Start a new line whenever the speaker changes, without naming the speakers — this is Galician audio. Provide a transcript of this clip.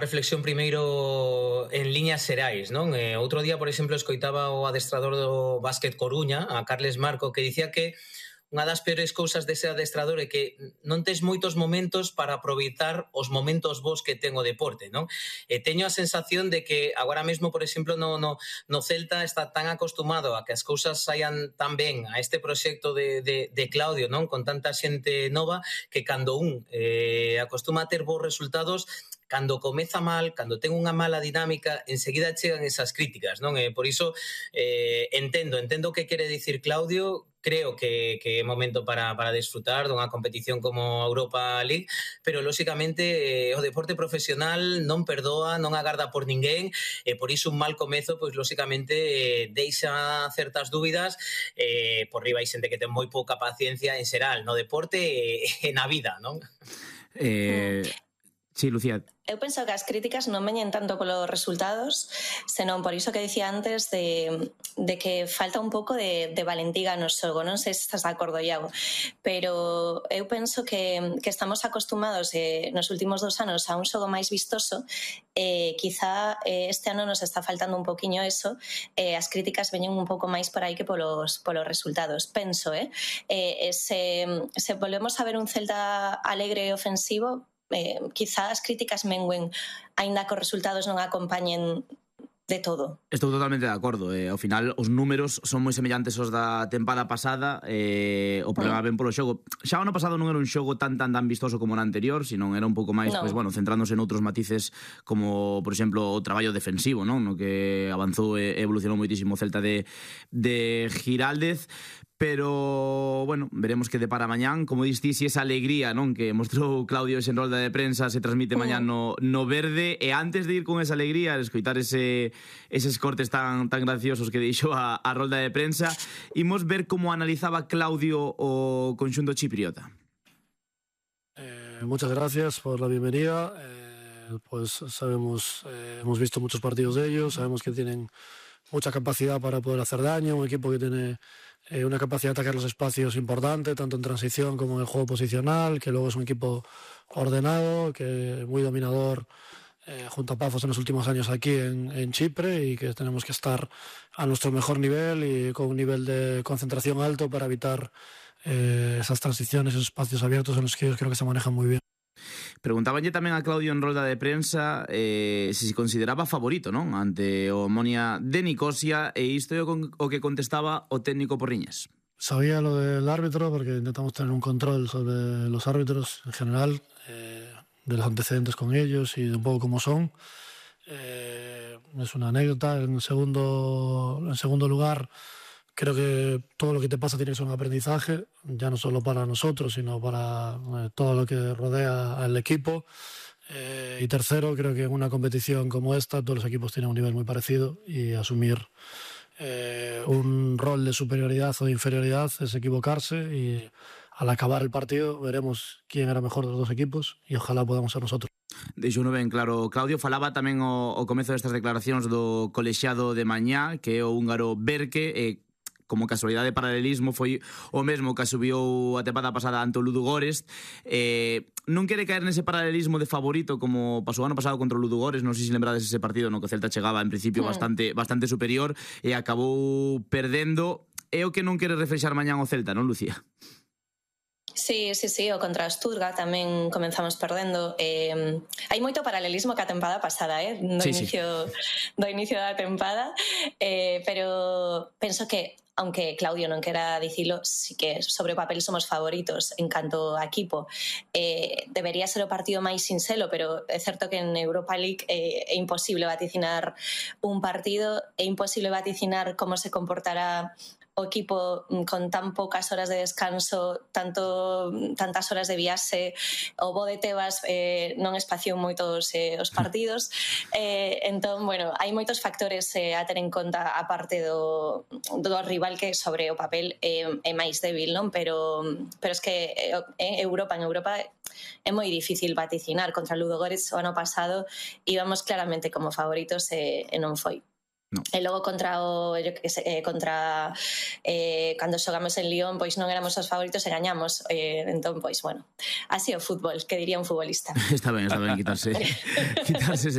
reflexión primeiro en líneas xerais, non? Outro día, por exemplo, escoitaba o adestrador do Básquet Coruña, a Carles Marco, que dicía que unha das peores cousas dese adestrador é que non tes moitos momentos para aproveitar os momentos bons que ten o deporte, non? E teño a sensación de que agora mesmo, por exemplo, no Celta está tan acostumado a que as cousas saian tan ben a este proxecto de Claudio, non? Con tanta xente nova, que cando acostuma a ter bons resultados, cando comeza mal, cando ten unha mala dinámica, enseguida chegan esas críticas, non? Por iso entendo o que quere dicir Claudio. Creo que é momento para desfrutar dunha competición como a Europa League, pero lóxicamente o deporte profesional non perdoa, non agarda por ninguén, e por iso un mal comezo, pois lóxicamente deixa certas dúbidas. Por riba hai xente que ten moi pouca paciencia en xeral no deporte e na vida, non?
Sí, Lucía.
Eu penso que as críticas non veñen tanto polos resultados, senón por iso que dicía antes de que falta un pouco de valentiga no xogo. Non sei se estás de acordo, Iago, pero eu penso que estamos acostumados nos últimos 2 anos a un xogo máis vistoso, e quizá este ano nos está faltando un poquinho eso, as críticas veñen un pouco máis por aí que polos resultados. Penso, se volvemos a ver un Celta alegre e ofensivo, quizá as críticas menguen, aínda que os resultados non acompañen de todo.
Estou totalmente de acordo. Ao final, os números son moi semellantes aos da tempada pasada. O problema ven polo xogo. Xa o ano pasado non era un xogo tan vistoso como o anterior, sino era un pouco máis, centrándose en outros matices, como, por exemplo, o traballo defensivo, non? No que avanzou e evolucionou moitísimo o Celta de Giraldez. Pero, bueno, veremos que depara mañán. Como diste, si esa alegría, non, que mostrou Claudio en rolda de prensa se transmite mañán no Verde. E antes de ir con esa alegría, escoitar eses cortes tan graciosos que deixou a rolda de prensa, imos ver como analizaba Claudio o conxunto chipriota.
Muchas gracias por la bienvenida. Pues sabemos, hemos visto muchos partidos de ellos, sabemos que tienen mucha capacidad para poder hacer daño, un equipo que tiene una capacidad de atacar los espacios importante, tanto en transición como en el juego posicional, que luego es un equipo ordenado, que muy dominador junto a Pafos en los últimos años aquí en Chipre, y que tenemos que estar a nuestro mejor nivel y con un nivel de concentración alto para evitar esas transiciones, esos espacios abiertos en los que ellos creo que se manejan muy bien.
Preguntabanlle tamén a Claudio en rolda de prensa se consideraba favorito, non? Ante o Omonia de Nicosia, e isto é o que contestaba o técnico Porriñas.
Sabía lo del árbitro porque intentamos tener un control sobre los árbitros en general, de los antecedentes con ellos y de un poco cómo son. Es una anécdota. En segundo lugar, creo que todo lo que te pasa tiene que ser un aprendizaje, ya no solo para nosotros, sino para todo lo que rodea al equipo. Y tercero, creo que en una competición como esta todos los equipos tienen un nivel muy parecido, y asumir un rol de superioridad o de inferioridad es equivocarse, y al acabar el partido veremos quién era mejor de los dos equipos y ojalá podamos ser nosotros.
Deixo non ben claro Claudio. Falaba tamén o comezo destas declaracións do colexiado de mañá, que é o húngaro Berke, como casualidade de paralelismo foi o mesmo que subiu a tempada pasada ante o Ludogorets. Non quere caer nese paralelismo de favorito como pasou ano pasado contra o Ludogorets. Non sei se lembrades ese partido no que o Celta chegaba en principio bastante superior e acabou perdendo. É o que non quere refrexar mañán o Celta, non, Lucía?
Sí, o contra o Stuttgart tamén comenzamos perdendo. Hai moito paralelismo ca tempada pasada, do inicio da tempada, pero penso que, aunque Claudio non quera dicilo, sí que sobre o papel somos favoritos en canto a equipo. Debería ser o partido máis sinxelo, pero é certo que en Europa League é imposible vaticinar un partido, é imposible vaticinar como se comportará o equipo con tan poucas horas de descanso, tantas horas de viaxe. O Bo de Tebas non espaciou moito os partidos, entón, bueno, hai moitos factores a ter en conta, a parte do rival, que sobre o papel é máis débil, non? Pero es que en Europa é moi difícil vaticinar. Contra o Ludogorets o ano pasado íbamos claramente como favoritos e non foi.
No.
E logo contra cando xogamos en Lyon, pois non éramos os favoritos e gañamos. Entón, pois, bueno, así o fútbol, que diría un futbolista.
Está ben quitarse